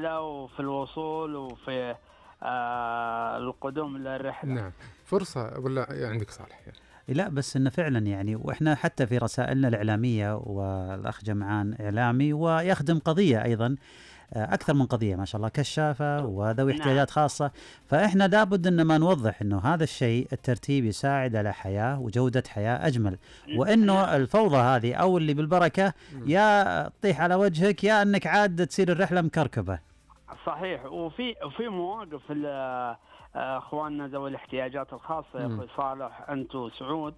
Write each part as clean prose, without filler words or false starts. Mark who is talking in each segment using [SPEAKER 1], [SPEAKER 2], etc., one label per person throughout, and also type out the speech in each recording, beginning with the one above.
[SPEAKER 1] الرحلة وفي الوصول وفي القدوم للرحلة.
[SPEAKER 2] نعم، فرصة ولا عندك صالح يعني؟
[SPEAKER 3] لا بس إنه فعلا يعني، وإحنا حتى في رسائلنا الإعلامية، والأخ جمعان إعلامي ويخدم قضية أيضا، أكثر من قضية ما شاء الله، كشافة وذوي احتياجات خاصة. فإحنا لابد إن ما نوضح إنه هذا الشيء الترتيب يساعد على حياة وجودة حياة أجمل، وإنه الفوضى هذه أو اللي بالبركة يا تطيح على وجهك يا أنك عاد تصير الرحلة مكركبة.
[SPEAKER 1] صحيح. وفي مواقف اخواننا ذوي الاحتياجات الخاصه يا اخوي صالح انت وسعود،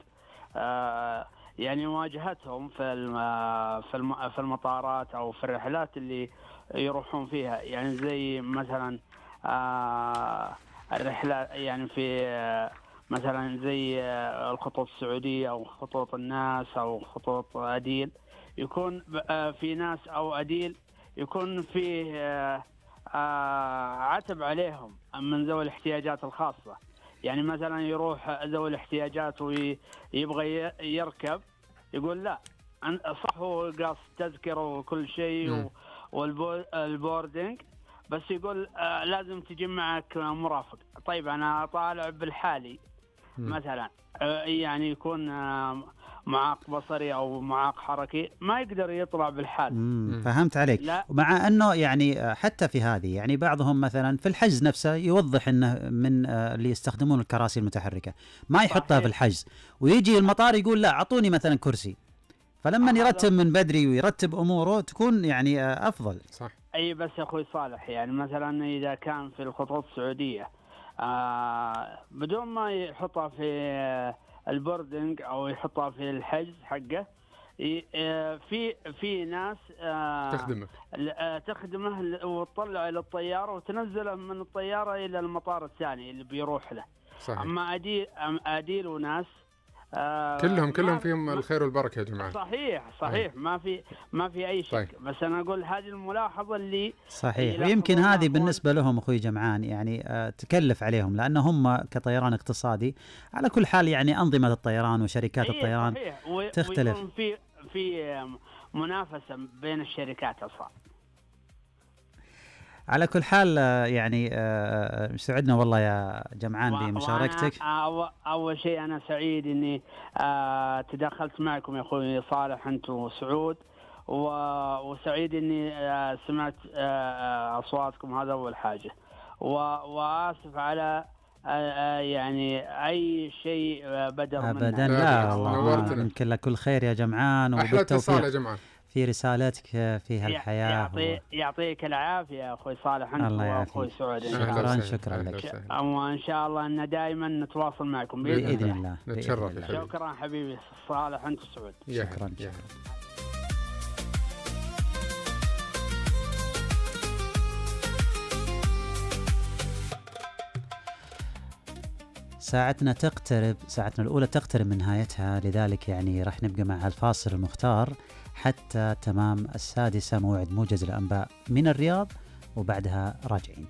[SPEAKER 1] يعني واجهتهم في المطارات او في الرحلات اللي يروحون فيها، يعني زي مثلا الرحلة يعني في مثلا زي الخطوط السعودية أو خطوط الناس أو خطوط أديل، يكون في ناس أو أديل يكون فيه عتب عليهم من ذوي الاحتياجات الخاصة. يعني مثلا يروح ذوي الاحتياجات ويبغى يركب، يقول لا صح هو قاص تذكرة وكل شيء والبوردنج، بس يقول لازم تجي معك مرافق. طيب أنا طالع بالحالي مثلا، يعني يكون معاق بصري أو معاق حركي ما يقدر يطلع بالحال.
[SPEAKER 3] فهمت عليك. مع أنه يعني حتى في هذه يعني بعضهم مثلا في الحجز نفسه يوضح أنه من اللي يستخدمون الكراسي المتحركة ما يحطها في الحجز، ويجي المطار يقول لا أعطوني مثلا كرسي، فلما يرتب من بدري ويرتب أموره تكون يعني أفضل.
[SPEAKER 2] صح.
[SPEAKER 1] أي بس يا أخوي صالح يعني مثلا إذا كان في الخطوط السعودية بدون ما يحطها في البوردنج أو يحطها في الحجز حقه، في ناس تخدمه وتطلع إلى الطيارة وتنزله من الطيارة إلى المطار الثاني اللي بيروح له.
[SPEAKER 2] صحيح.
[SPEAKER 1] أما أديل وناس
[SPEAKER 2] كلهم فيهم الخير والبركة يا جماعة.
[SPEAKER 1] صحيح. ما في أي شك.
[SPEAKER 2] طيب.
[SPEAKER 1] بس أنا أقول هذه الملاحظة اللي
[SPEAKER 3] صحيح، ويمكن هذه بالنسبة لهم أخوي جمعان يعني تكلف عليهم، لأن هم كطيران اقتصادي على كل حال يعني أنظمة الطيران وشركات الطيران تختلف.
[SPEAKER 1] ويكون في منافسة بين الشركات أصلا. على
[SPEAKER 3] كل حال يعني سعدنا والله يا جمعان بمشاركتك.
[SPEAKER 1] أول شيء أنا سعيد إني تدخلت معكم يا أخوي صالح أنت وسعود، وسعيد إني سمعت أصواتكم، هذا أول حاجة. وآسف على يعني أي شيء بدر
[SPEAKER 3] أبدا لا والله يمكن لك كل خير يا جمعان،
[SPEAKER 2] أحلى اتصال يا جمعان
[SPEAKER 3] في رسالتك في هالحياة.
[SPEAKER 1] يعطيك العافية يا أخوي صالح أنت وأخوي سعود.
[SPEAKER 3] شكرا لك،
[SPEAKER 1] وإن شاء الله أن دائما نتواصل معكم
[SPEAKER 3] بإذن الله.
[SPEAKER 2] نتشرف.
[SPEAKER 1] شكرا حبيبي صالح أنت وسعود.
[SPEAKER 3] شكرا. ساعتنا الأولى تقترب من نهايتها، لذلك يعني راح نبقى مع الفاصل المختار حتى تمام 6:00 موعد موجز الأنباء من الرياض، وبعدها راجعين.